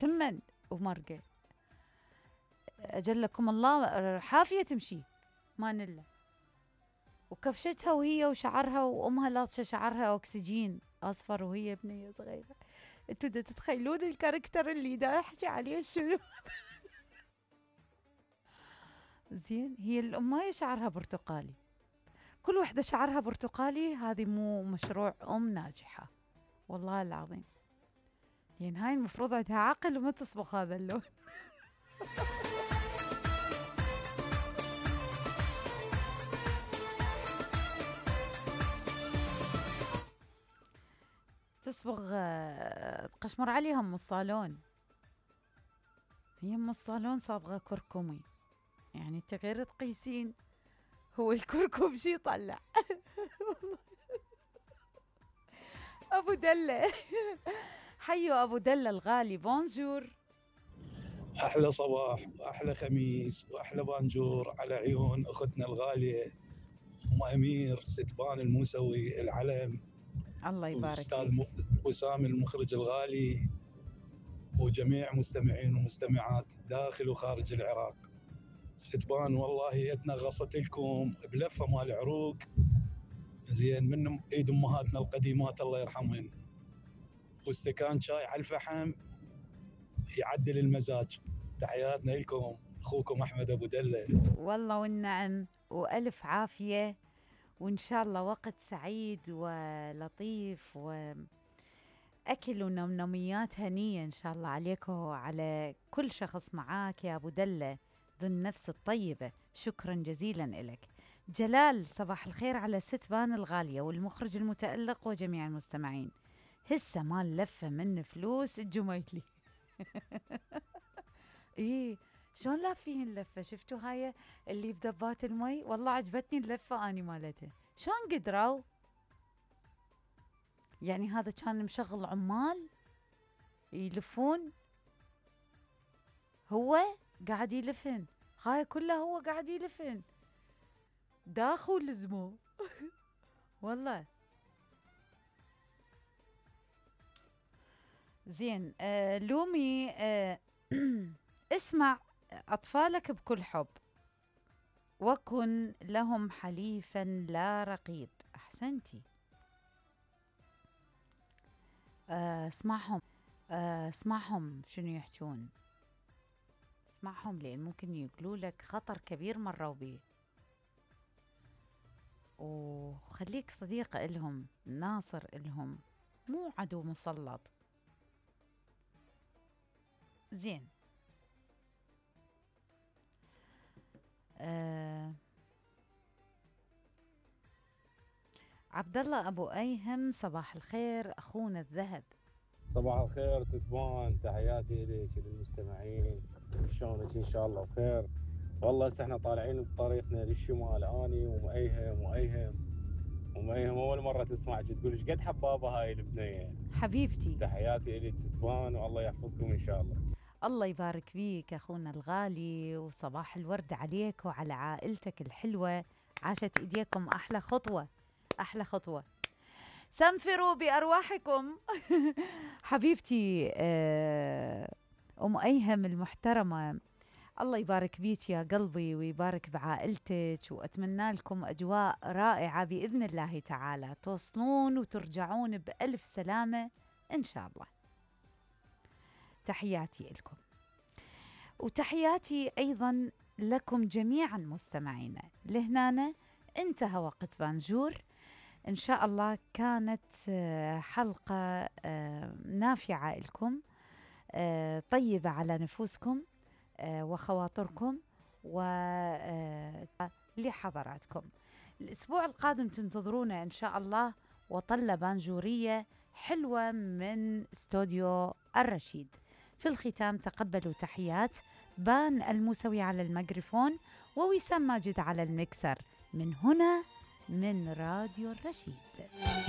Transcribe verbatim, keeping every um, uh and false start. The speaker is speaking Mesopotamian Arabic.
تمن ومرقة أجلكم الله حافية تمشي ما نله. وكفشتها وهي وشعرها وأمها لاطشة شعرها أكسجين أصفر وهي بنية صغيرة. انتوا دا تتخيلون الكاركتر اللي دا أحكي عليه شنو؟ زين هي الأماية شعرها برتقالي، كل وحدة شعرها برتقالي هذه مو مشروع أم ناجحة والله العظيم، يعني هاي المفروض عندها عقل وما تصبغ هذا اللون. تصبغ قشمر عليها ام الصالون، هي ام الصالون صابغه كركمي، يعني انت غير تقيسين هو الكركم شي يطلع. ابو دله حيو ابو دله الغالي، بونجور. احلى صباح واحلى خميس واحلى بانجور على عيون اختنا الغاليه ام امير ستبان الموسوي العلم. الله يبارك والاستاذ فيك. وسام المخرج الغالي وجميع مستمعين ومستمعات داخل وخارج العراق. ستبان والله يدنا غصت لكم بلفه مال عروق زين من ايد امهاتنا القديمات الله يرحمهن، واستكان شاي على الفحم يعدل المزاج. تحياتنا لكم، اخوكم احمد ابو دله. والله والنعم والف عافيه، وان شاء الله وقت سعيد ولطيف واكل ونمنميات هنيه ان شاء الله عليك وعلى كل شخص معاك يا ابو دله ذو النفس الطيبه. شكرا جزيلا لك. جلال صباح الخير على ستبان الغاليه والمخرج المتالق وجميع المستمعين. هسه مال لفه من فلوس الجميلي. ايه شلون لافين اللفه؟ شفتوا هاي اللي بدبات المي؟ والله عجبتني اللفه اني مالتها. شلون قدروا؟ يعني هذا كان مشغل عمال يلفون، هو قاعد يلفن، هاي كلها هو قاعد يلفن داخل لزمو. والله زين. آه لومي آه اسمع أطفالك بكل حب وكن لهم حليفا لا رقيب. أحسنتي. آه اسمعهم، آه اسمعهم شنو يحجون، اسمعهم لأن ممكن يقولوا لك خطر كبير مروا بيه، وخليك صديق إلهم، ناصر إلهم، مو عدو مسلط. زين. آه عبد الله ابو ايهم صباح الخير اخونا الذهب. صباح الخير ستبان، تحياتي لك للمستمعين، شلونك؟ ان شاء الله بخير. والله هسه احنا طالعين بطريقنا للشمال، اني ومأيهم وأيهم ومأيهم اول مره تسمعك تقول ايش قد حبابه هاي البنيه. حبيبتي تحياتي لك ستبان، والله يحفظكم ان شاء الله. الله يبارك فيك اخونا الغالي، وصباح الورد عليك وعلى عائلتك الحلوه، عاشت ايديكم احلى خطوه احلى خطوه. سنفروا بارواحكم. حبيبتي ام ايهم المحترمه، الله يبارك بيك يا قلبي ويبارك بعائلتك، واتمنى لكم اجواء رائعه باذن الله تعالى، توصلون وترجعون بالف سلامه ان شاء الله. تحياتي لكم، وتحياتي أيضا لكم جميعا مستمعينا. لهنا انتهى وقت بانجور، إن شاء الله كانت حلقة نافعة لكم، طيبة على نفوسكم وخواطركم ولحضراتكم. الأسبوع القادم تنتظرونا إن شاء الله وطلة بانجورية حلوة من استوديو الرشيد. في الختام تقبلوا تحيات بان الموسوي على الميكروفون ووسام ماجد على المكسر، من هنا من راديو الرشيد.